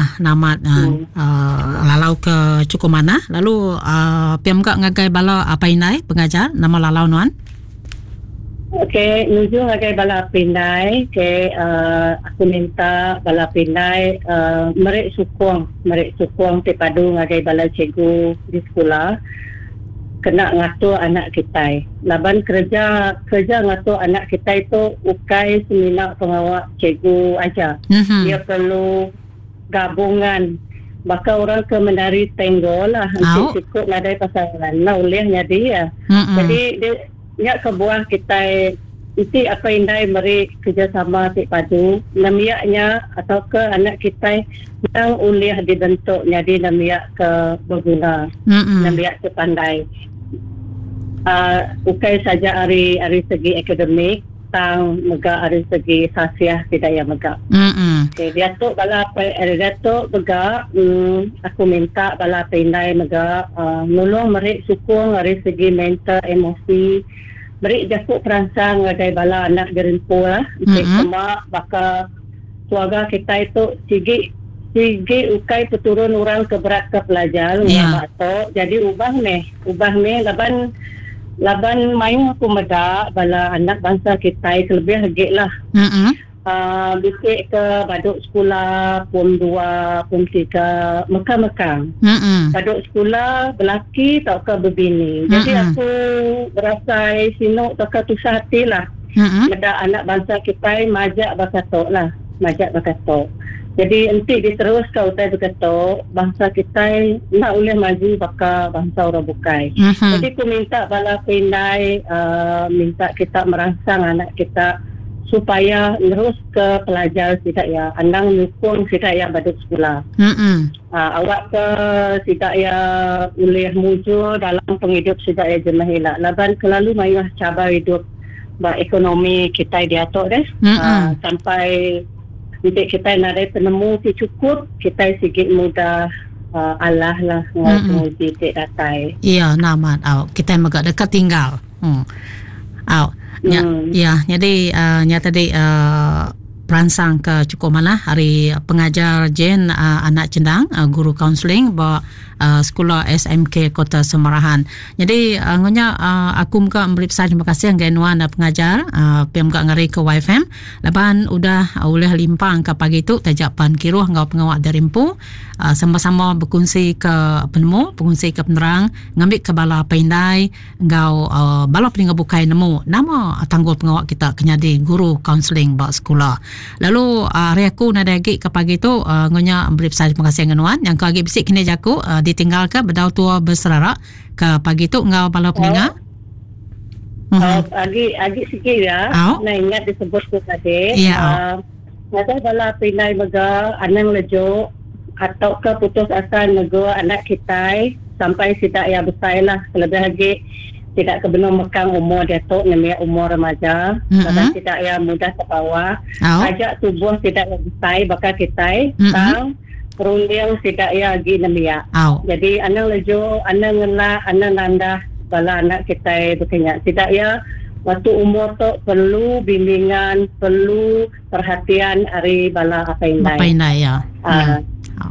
Ya, namat lalau ke cukup manah lalu pia mega ngagai bala apai indai pengajar nama lalau nuan? Okey, nuju ngagai bala apai indai, okey aku minta bala apai indai meri sukung, meri sukung ti padu ngagai bala cikgu di sekula kena ngatur anak kitai. Laban kereja kereja ngatur anak kitai tu ukai semina pengawa cikgu aja. Iya perlu gabungan baka orang ke menari tango lah enti siku nadai pasangan enda ulih nyadi iya. Jadi nya kebuah kitai enti apai indai meri kerejasama ti padu nembiak nya tauka anak kitai endang ulih dibentuk nyadi nembiak ke beguna nembiak ti pandai uhh ukai saja ari ari segi akademik tang mega ari segi sasiah sida iya mega. Okey diatu bala apai diatu mega uhh aku minta bala apai indai mega uhh nulung meri sukung ari segi mental emosi meri jaku peransang ngagai bala anak gerempu lah enti sema baka keluarga kitai tu sigi sigi ukai peturun orang ke beratka pelajar ngelama tu jadi ubah meh ubah meh laban laban mayuh aku meda bala anak bansa kitai kelebih agi lah uhh bisi ke badu sekula pom dua pom tiga meka meka badu sekula belaki tauka bebini jadi aku berasai sinu tauka tusah ati lah. Meda anak bansa kitai majak baka tu lah, majak baka tu. Jadi enti diteruska utai baka tu, bansa kitai enda ulih maju baka bansa orang bukai. Jadi ku minta bala pindai uhh minta kita meransang anak kita supaya neruska pelajar sida iya, anang nyukung sida iya badu sekula. Uhh awakka sida iya ulih mujur dalam pengidup sida iya jemah ila laban kelalu mayuh chabar idup ba ekonomi kitai diatu deh. Uhh sampai enti kitai nadai penemu ti chukup kitai sigi mudah uhh alah lah enggau penguji ti datai. Iya enda amat au kitai mega deka tinggal. Uhh au nya iya nyadi uhh nya tadi uhh. Peransang ke chukup manah ari pengajar Jane Anak Chendang, guru kaunseling ba sekula SMK Kota Samarahan. Nyadi enggau nya aku mega meri besai terima kasih ngagai nuan pengajar pia mega ngari ke YFM laban udah ulih limpang ke pagi tu taja pan kiruh enggau pengawa diri empu sama-sama bekunsi ke penemu, bekunsi ke penerang ngambi ke bala apai indai enggau bala peninga bukai nemu nama tanggul pengawa kita ke nyadi guru kaunseling ba sekula. Lalu ari aku nadai agi ke pagi tu enggau nya meri besai terima kasih enggau nuan nyangka agi bisi kini jaku ditinggalka bedau tua beserara ke pagi tu enggau bala peninga. Oh, agi agi sigi ya. Nah ingat disebut ku tadi. Ya. Ngagai bala pindai mega anang lejuk atauka putus asa negur anak kitai sampai sida iya besai lah kelebih agi sida ke benung mekang umur diatu nembiak umur remaja laban sida iya mudah tebawa taja tubuh sida iya besai baka kitai tang runding sida iya agi nembiak. Jadi anang lejuk anang ngelak anang nandah bala anak kitai baka nya. Sida iya waktu umur tu perlu bimbingan perlu perhatian ari bala apai indai. Apai indai ya. Uh,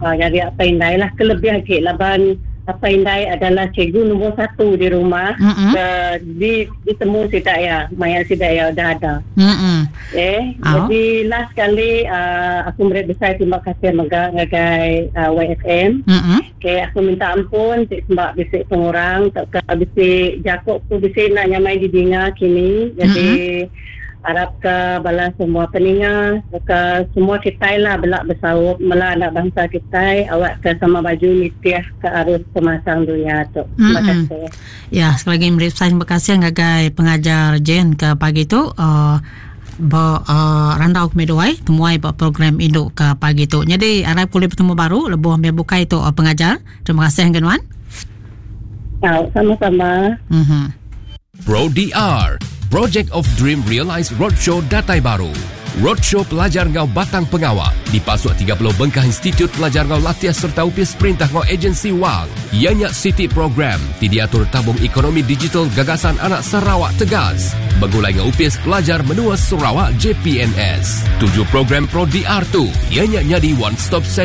uh, jadi apai indai lah kelebih agi laban apai indai adalah cikgu nombor satu di rumah mm-hmm. ke di ditemu sida ya maya sida ya udah ada. Mm-hmm. Eh, oh. jadi last kali uh, aku meri besai terima kasih mega ngagai uh, YFM. Mm-hmm. Okay, aku minta ampun ti sembak bisi pengurang tauka bisi jaku ku bisi enda nyamai didinga kini. Jadi mm-hmm. Arapka bala semua peninga tauka semua kitai lah bela besaup mela anak bansa kitai awakka sama baju nitih ke arus pemasang dunya tu. Terima kasih. Ya, sekali lagi meri besai terima kasih ngagai pengajar Jane ke pagi tu uh, ba uh, randau kami duai temuai ba program indu ke pagi tu. Jadi arap boleh bertemu baru lebuh meh bukai tu uh, pengajar. Terima kasih ngagai nuan. Tau, sama-sama. Pro DR, Project of Dream Realized Roadshow datai baru. Roadshow pelajar enggau batang pengawa dipasuk 30 bengkah institut pelajar enggau latih sereta opis perintah enggau agensi wang. Iya nya siti program ti diatur Tabung Ekonomi Digital Gagasan Anak Sarawak Tegas begulai enggau Opis Pelajar Menua Sarawak JPNS. Tuju program Pro DR tu iya nya nyadi one stop centre.